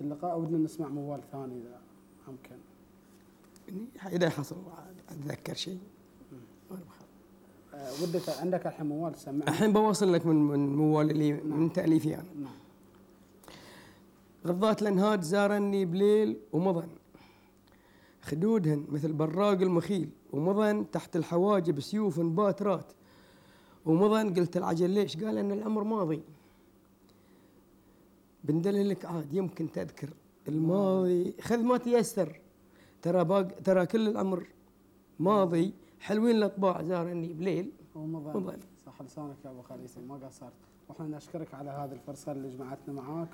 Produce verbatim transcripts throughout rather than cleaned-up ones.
اللقاء ودنا نسمع موال ثاني إذا أمكن. إذا حصل أتذكر شيء. أه ودك عندك الحين موال تسمعنا؟ الحين بوصل لك من من موال اللي نعم. من تأليفي يعني. نعم. غضات الأنهار زارني بليل ومضن، خدودهن مثل براق المخيل، ومضن تحت الحواجب سيوف باترات، ومضن قلت العجل ليش؟ قال أن العمر ماضي. بندللك عاد يمكن تذكر الماضي، خذ ما تيسر، ترى باق ترى كل الأمر ماضي. حلوين الأطباع زارني بليل ومضن. صح لسانك يا أبو خليفة، ما قصرت. وإحنا نشكرك على هذه الفرصة اللي جمعتنا معاك،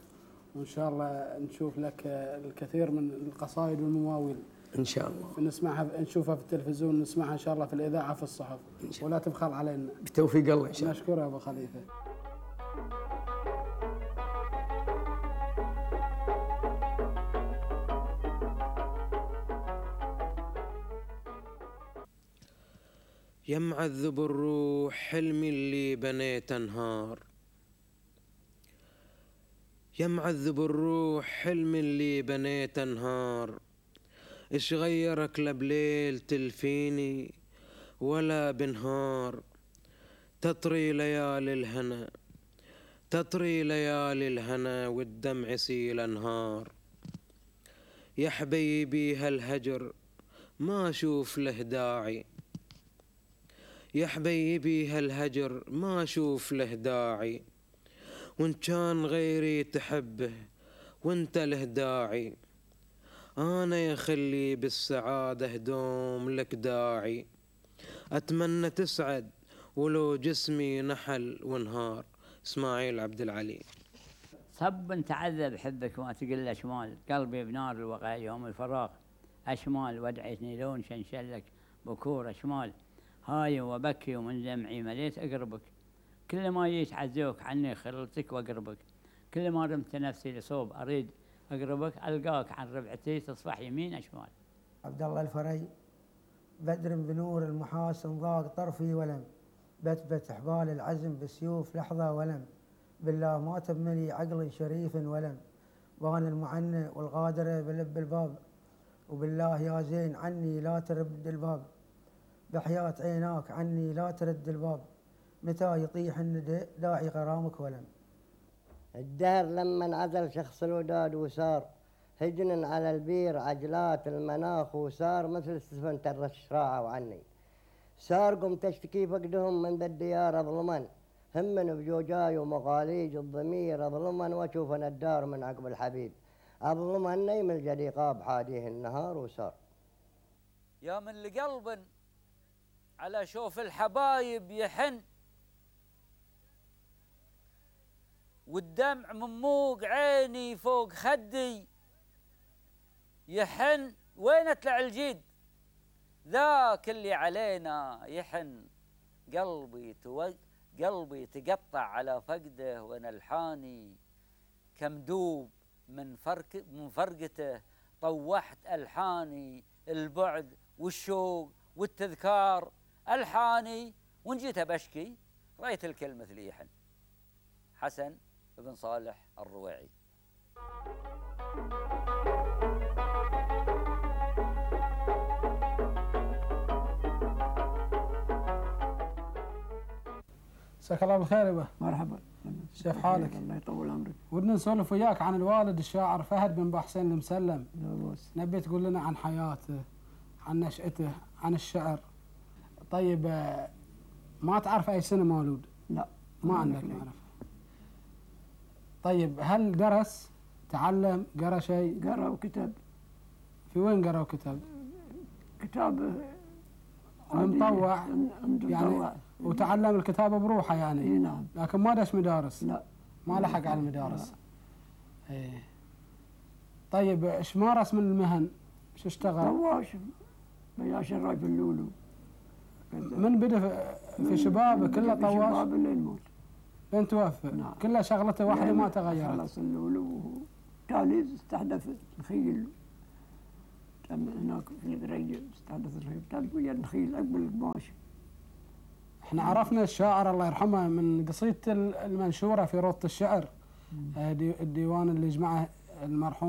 وإن شاء الله نشوف لك الكثير من القصائد والمواويل إن شاء الله، نسمعها نشوفها في التلفزيون، نسمعها إن شاء الله في الإذاعة في الصحف، ولا تبخل علينا. بتوفيق الله إن شاء الله. نشكرك يا أبو خليفة. يا معذب الروح حلمي اللي بنيت انهار، يا معذب الروح حلمي اللي بنيت انهار، ايش غيرك لبليل تلفيني ولا بنهار، تطري ليالي الهنا تطري ليالي الهنا والدمع سيل انهار، يا حبيبي هالهجر ما اشوف له داعي، يا حبيبي هالهجر ما اشوف له داعي، وان كان غيري تحبه وانت له داعي، انا يا خلي بالسعادة دوم لك داعي، اتمنى تسعد ولو جسمي نحل ونهار. اسماعيل عبد العلي. صب تعذب حبك وما تقل اشمال، قلبي بنار الوقع يوم الفراغ اشمال، ودعتني لون شنشلك بكور اشمال، هاي وبكي ومن دمعي مليت أقربك، كل ما جيت عزوك عني خلتك وأقربك، كل ما رمت نفسي لصوب أريد أقربك، ألقاك عن ربعتي تصفح يمين أشمال. عبد الله الفري. بدر بنور المحاسن ضاق طرفي ولم، بتبت حبال العزم بسيوف لحظة ولم، بالله ما تبملي عقل شريف ولم، بان المعنى والغادرة بلب الباب، وبالله يا زين عني لا ترد الباب، بحياة عيناك عني لا ترد الباب، متى يطيح الندى داعي غرامك ولم. الدهر لما انعزل شخص الوداد وصار هجن على البير عجلات المناخ، وصار مثل سفن الرشراعة وعني، صار قم تشتكي فقدهم من ذا الديار اظلمن، همن بجوجاي ومغاليج الضمير اظلمن، واشوفن الدار من عقب الحبيب اظلمن، نيم الجليقة بحاديه النهار وصار. يا من لقلب على شوف الحبايب يحن، والدمع من موق عيني فوق خدي يحن، وين اطلع الجيد ذاك اللي علينا يحن، قلبي تو قلبي تقطع على فقده وانا الحاني، كمدوب من فرق من فرقته طوحت الحاني، البعد والشوق والتذكار الحاني، وان جيت بشكي رايت الكل مثل يحن. حسن بن صالح الرويعي. مساك الله بالخير يبا. مرحبا. كيف حالك؟ الله يطول عمرك. ودنا نسولف وياك عن الوالد الشاعر فهد بن بحسين المسلم. لا بس. نبي تقول لنا عن حياته، عن نشأته، عن الشعر. طيب ما تعرف أي سنة مولود؟ لا ما عندك معرفة. طيب هل درس؟ تعلم؟ قرأ شيء؟ قرأ وكتب. في وين قرأ وكتب؟ كتاب مطوع يعني، وتعلم الكتابة بروحه يعني. اي نعم. لكن ما دش مدارس. لا ما لحق على المدارس. ايه. طيب ايش مارس من المهن؟ ايش اشتغل؟ طواش بيا شراي في اللولو. من بدا في شبابه كله طواش؟ في شبابه لين موت. لين توفى؟ نعم. كلها شغلته واحدة ما تغيرت. خلص اللولو تالي استحدث الخيل. هناك في دريجة استحدث الخيل، تالي ويا الخيل قبل القماش. احنا عرفنا الشاعر الله يرحمه من قصيدته المنشورة في روضة الشعر، الديوان اللي جمعه المرحوم